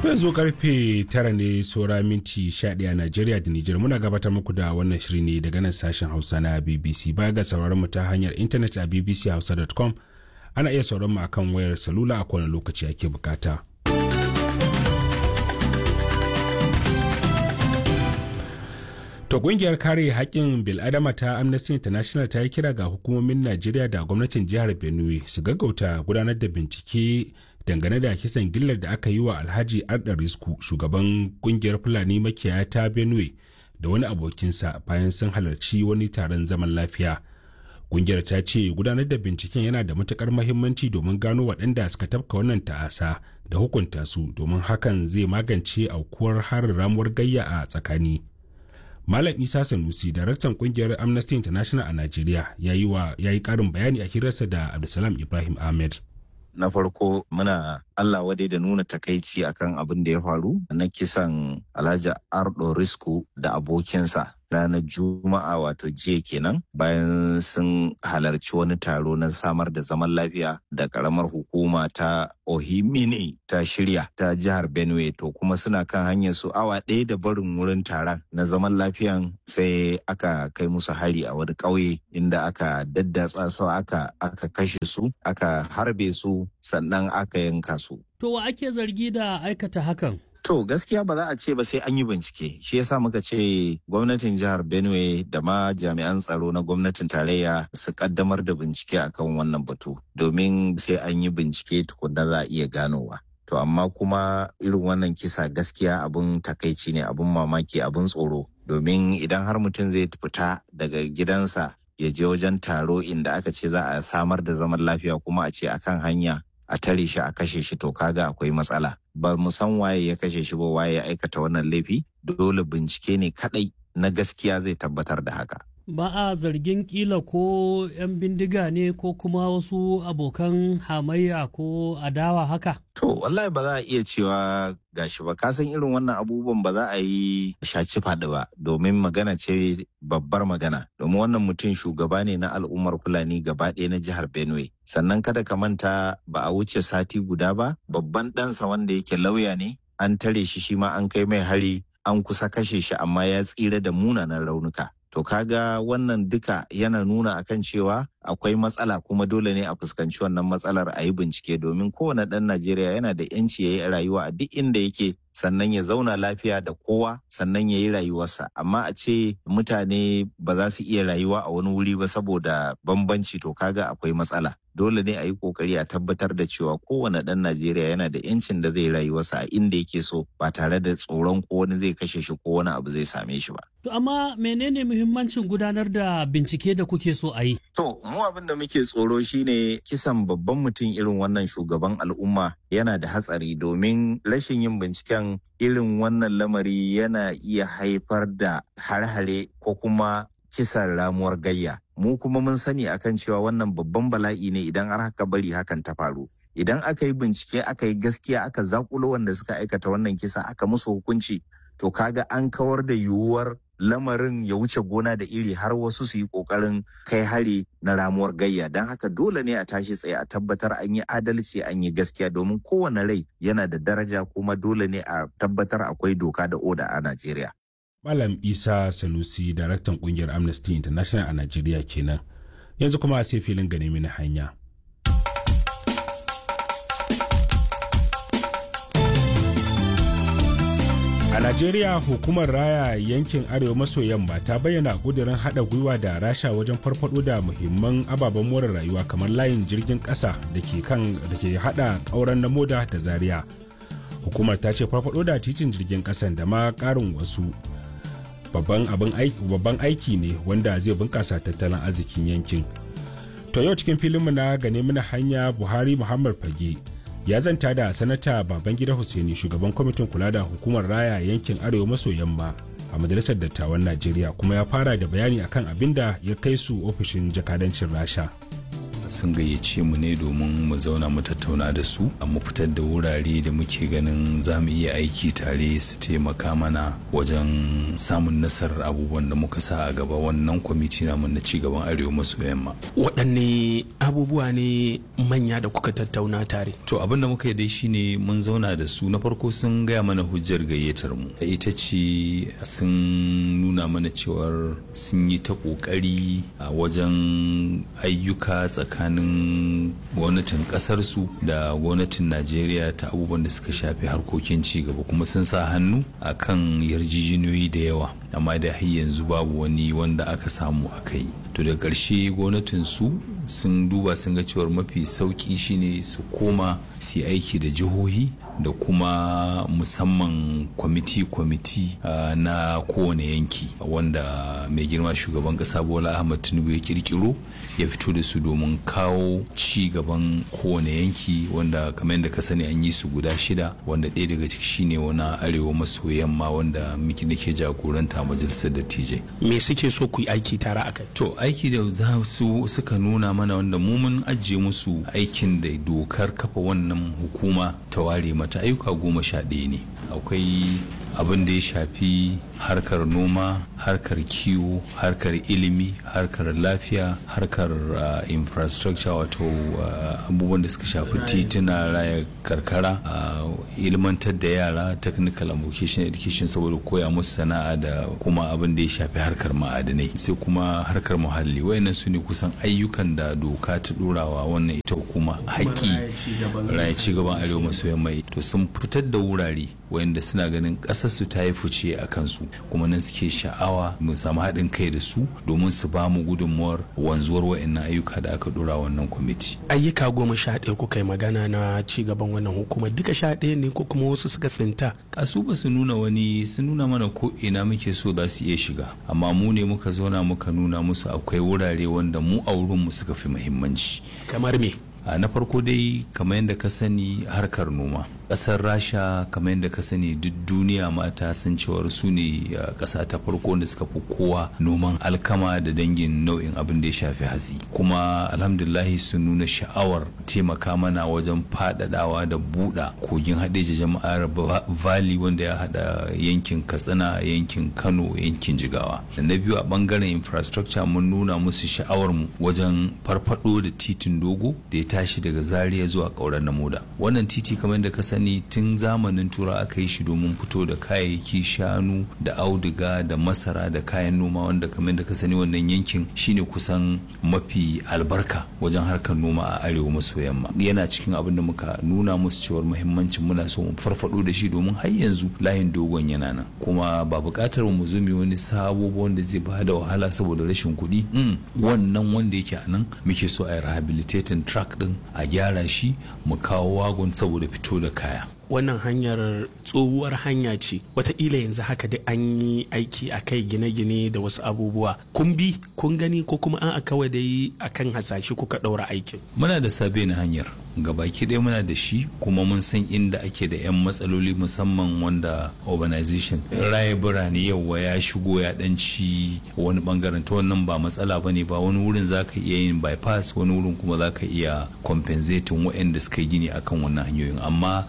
Yanzu karfe 9 ne saura minti 11 a Najeriya da Nijar. Muna gabatar muku da wannan shiri ne daga nan sashen Hausa na BBC. Baya ga sauraron mu ta hanyar intanet a bbchausa.com, ana iya sauraron mu akan wayar salula a kowane lokaci ake bukata. To, kungiyar kare haƙƙin bil'adama ta Amnesty International ta yi kira ga hukumomin Najeriya da gwamnatin jihar Benue su gaggauta gudanar da bincike dangane da kisan gillar da aka yi wa Alhaji Arda Risku, shugaban kungiyar Fulani makiyaya ta Benue, da wani abokinsa bayan sun halarci wani taron zaman lafiya. Kungiyar ta ce gudanar da binciken yana da matukar mahimmanci domin gano waɗanda suka tafka wannan ta'asa da hukunta su, domin hakan zai magance aukuwar harin ramuwar gayya a tsakani. Malam Isa Sanusi, daraktan kungiyar Amnesty International a Najeriya, ya yi karin bayani a hirarsa da Abdulsalam Ibrahim Ahmed. Na farko, muna Allah wadai da nuna takaici akan abin da ya faru na kisan Alhaji Ardo Risku da abokinsa ranar Juma'a, wato jiya kenan, bayan sun halarci wani taro na samar da zaman lafiya da karamar hukuma ta Ohimini ta shirya ta jihar Benue. To, kuma suna kan hanyar su awa ɗaya da barin wurin taron na zaman lafiyan, sai aka kai musu hari a wani ƙauye inda aka daddatsa su, aka kashe su, aka harbe su, sannan aka yanka su. To, wa ake zargi da aikata hakan? To, gaskiya ba za a ce ba sai an yi bincike. Shi yasa muka ce gwamnatin jihar Benue da ma jami'an tsaro na gwamnatin tarayya su kaddamar da bincike akan wannan batu, domin sai an yi bincike tukunna za a iya ganowa. To, amma kuma irin wannan kisa gaskiya abun takaici ne, abun mamaki, abun tsoro. Domin idan har mutum zai fita daga gidansa ya je wajen taro inda aka ce za a samar da zaman lafiya, kuma a ce akan hanya a tare shi a kashe shi, to kaga akwai matsala. Ba mu san waye ya kashe shi ba, waye ya aikata wannan laifi. Dole bincike ne kadai na gaskiya zai tabbatar da haka. Ba a zargin kila ko 'yan bindiga ne ko kuma wasu abokan hamayya ko adawa haka? To, wallahi ba za a iya cewa gashi ba. Ka san irin wannan abubuwan ba za a yi shaci faɗi ba, domin magana ce babbar magana. Domin wannan mutum shugaba ne na al'ummar Fulani gaba ɗaya na jihar Benue. Sannan kada ka manta, ba a wuce sati guda ba, babban ɗansa wanda yake lauya ne, an tare shi, shi ma an kai mai hari, an kusa kashe shi, amma ya tsira da munanan raunuka. To, kaga wannan duka yana nuna akan cewa akwai matsala, kuma dole ne a fuskanci wannan matsalar a yi bincike, domin kowane ɗan Najeriya yana da 'yanci ya yi rayuwa a duk inda yake, sannan ya zauna lafiya da kowa, sannan ya yi rayuwarsa. Amma a ce mutane ba za su iya rayuwa a wani wuri ba saboda bambanci, to kaga akwai matsala. Dole ne a yi kokari a tabbatar da cewa kowane ɗan Najeriya yana da 'yancin da zai rayuwarsa a inda yake so, ba tare da tsoron ko wani zai kashe shi ko wani abu zai same shi ba. To, amma menene muhimmancin gudanar da bincike da kuke so a yi? To, mu abin da muke tsoro shine kisan babban mutum irin wannan, shugaban al'umma, yana da hatsari, domin rashin yin binciken irin wannan lamari yana iya haifar da har-hare ko kuma kisan ramuwar gayya. Mu kuma mun sani akan cewa wannan babban bala'i ne idan har haka bari hakan ta faru. Idan aka yi bincike, aka yi gaskiya, aka zakulo wanda suka aikata wannan kisa, aka musu hukunci, to kaga an kawar da yiwuwar lamarin ya wuce gona da iri har wasu su yi kokarin kai hari na ramuwar gayya. Don haka dole ne a tashi tsaye a tabbatar an yi adalci, an yi gaskiya, domin kowane rai yana da daraja, kuma dole ne a tabbatar akwai doka da oda a Najeriya. Malam Isa Sanusi, daraktan kungiyar Amnesty International a Najeriya kenan. Yanzu kuma sai filin gane mini hanya. A Najeriya, hukumar raya yankin Arewa maso yamma ta bayyana ƙudurin haɗa gwiwa da Rasha wajen farfaɗo da muhimman ababen more rayuwa kamar layin jirgin ƙasa da ke kan da ke haɗa ƙauren na moda da Zaria. Hukumar ta ce farfaɗo da titin jirgin ƙasan da ma ƙarin wasu babban abin aiki babban aiki ne wanda zai bunƙasa tattalin arzikin yankin. To, yau cikin filinmu na gane mini hanya, Buhari Muhammad Fage ya zanta da Sanata Babangida Hussaini, shugaban kwamitin kula da hukumar raya yankin Arewa maso yamma a Majalisar Dattawan Najeriya, kuma ya fara da bayani akan abin da ya kai su ofishin jakadancin Rasha. Sun gayyace mu ne domin mu zauna mu tattauna da su, mu fitar da wurare da muke ganin za mu iya aiki tare su taimaka mana wajen samun nasarar abubuwan da muka sa a gaba wannan kwamiti namu na cigaban Arewa maso Yamma. Waɗanne abubuwa ne manya da kuka tattauna tare? To, abin da muka yi dai shine mun zauna da su. Na farko sun gaya mana hujjar gayyatar mu. Ita ce sun nuna mana cewar sun yi ta kokari a wajen ayyuka tsakanin gwamnatin kasar su da gwamnatin Najeriya ta abubuwan da suka shafi harkokin ci gaba, kuma sun sa hannu akan yarjejeniyoyi da yawa, amma da har yanzu babu wani wanda aka samu aka yi. To, da ƙarshe gwamnatin su sun duba sun ga cewar mafi sauki shine su koma su yi aiki da jihohi da kuma musamman kwamiti-kwamiti na kowane yanki wanda mai girma shugaban kasa Bola Ahmad Tinubu ya kirkiro ya fito da su domin kawo ci gaban kowane yanki, wanda kamar yadda ka sani an yi su guda shida, wanda ɗaya daga ciki shine wani Arewa maso Yamma wanda muke nake jagoranta majalisar dattijai. Me suke so ku yi aiki tare a kai? To, aiki da za su suka nuna mana, wanda mu mun ajiye musu aikin da dokar kafa wannan hukuma ta ware mata, ayyuka 11 ne. Akwai abin da ya shafi harkar noma, harkar kiwo, harkar ilimi, harkar lafiya, harkar infrastructure, wato abubuwan da suka shafi tituna, raya karkara, ilmantar da yara, technical and vocational education saboda koya musu sana'a, da kuma abin da ya shafi harkar ma'adanai, sai kuma harkar muhalli. Wayannan su ne kusan ayyukan da doka ta dorawa wannan ita hukuma haƙƙi raya cigaban Arewa maso Yamma. To, sun fitar da wurare wayanda suna ganin ƙasar su ta yi fice a kansu, kuma nan suke sha'awa mu samu haɗin kai da su domin su ba mu gudunmuwar wanzuwar wayannan ayyuka da aka dora wannan kwamiti. Ayyuka 11 kuka yi magana na cigaban wannan hukuma, duka 11 ne ko kuma wasu suka tsinta? Kasu ba su nuna wani, sun nuna mana ko ina muke so za su iya shiga, amma mu ne muka zauna muka nuna musu akwai wurare wanda mu a wurinmu suka fi muhimmanci. Kamar me? Na farko dai, kamar yadda ka sani, harkar noma. Ƙasar Rasha, kamar yadda ka sani, duk duniya mata san cewar su ne ƙasa ta farko wanda suka fi kowa noman alkama da dangin nau'in abin da ya shafi hatsi, kuma alhamdulillahi sun nuna sha'awar taimaka mana wajen faɗaɗawa da buɗa kogin Haɗeja Jama'ar Valley, wanda ya haɗa yankin Katsina, yankin Kano, yankin Jigawa. Da na biyu, a ɓangaren infrastructure, mun nuna musu sha'awar mu wajen farfaɗo da titin dogo da ya tashi daga Zaria zuwa Ƙauren Namoda. Wannan titi, kamar yadda ka sani, tun zamanin Tura aka yi shi domin fito da kayayyaki, shanu da auduga da masara da kayan noma, wanda kamar da ka sani wannan yankin shine kusan mafi albarka wajen harkar noma a Arewa maso Yamma. Yana cikin abin da muka nuna musu cewar muhimmancin muna so mu farfado da shi, domin har yanzu layin dogon yana nan, kuma ba buƙatar mu zo mu wani sabo ba wanda zai ba da wahala saboda rashin kuɗi. Wannan wanda yake a nan muke so a yi rehabilitating track din, a gyara shi, mu kawo wagon saboda fito da kaya. Wannan hanyar tsohuwar hanya ce, wataƙila yanzu haka da an yi aiki a kai, gine-gine da wasu abubuwa. Kun bi kun gani ko kuma an kawai dai akan hasashe kuka ɗaura aikin? Muna da sabe na hanyar gabaki ɗaya, muna da shi, kuma mun san inda ake da 'yan matsaloli, musamman wanda urbanization, raya birane, yawa ya shigo ya ɗanci wani bangaren. Ta wannan ba matsala ba ne ba. Wani wurin za ka iya yin bypass, wani wurin kuma za ka iya compensating waɗanda suka yi gini akan wannan hanyoyin. Amma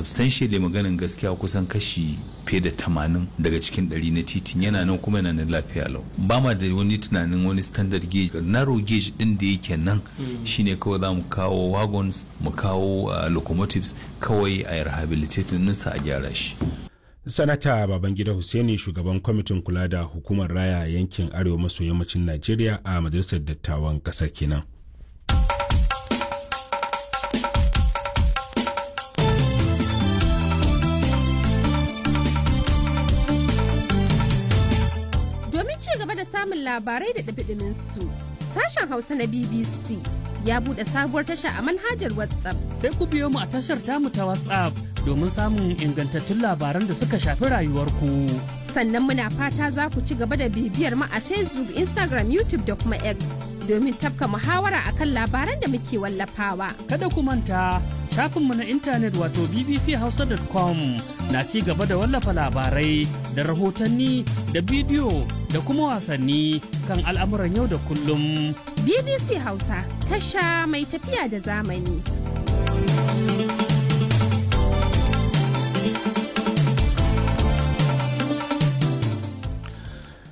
substantially, maganin gaskiya, kusan kashi fiye da 80 daga cikin 100 na titin yana nan, kuma yana nan lafiya lau. Ba ma da wani tunanin wani standard gauge, narrow gauge din da yake nan shine kawai za mu kawo wagons, mu kawo locomotives, kawai a rehabilitating ɗinsa, a gyara shi. Sanata Babangida Hussaini, shugaban kwamitin kula da hukumar raya yankin Arewa maso Yammacin Najeriya a majalisar dattawan kasar kenan. Domin ci gaba da samun labarai da ɗumi su, sashen Hausa na BBC ya buɗe sabuwar tasha a manhajar WhatsApp. Sai ku biyo mu a tashar tamu ta WhatsApp domin samun ingantattun labaran da suka shafi rayuwarku. Sannan muna fata za ku ci gaba da bibiyar mu a Facebook, Instagram, YouTube da kuma X domin tafka muhawara akan labaran da muke wallafawa. Kada ku manta, shafinmu na intanet wato bbchausa.com na ci gaba da wallafa labarai da rahotanni da bidiyo da kuma wasanni kan al'amuran yau da kullum. BBC Hausa tasha mai tafiya da zamani.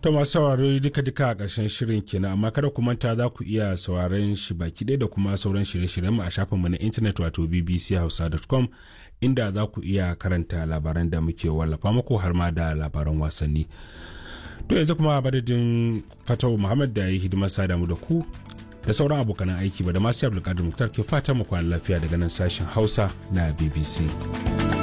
To masu sauraro duka-duka a ƙarshen shirin kenan, amma kada ku manta za ku iya sauraron shi baki ɗaya da kuma sauran shirye-shiryenmu a shafinmu na intanet wato bbchausa.com, inda za ku iya karanta labaran da muke wallafa muku har ma da labaran wasanni. To yanzu kuma madadin Fatawu Muhammad da ya yi hidimar sada mu da ku da sauran abokanan aiki ba da masu Abdulkadir Muktar ke fatan mu kwana lafiya daga nan sashen Hausa na BBC.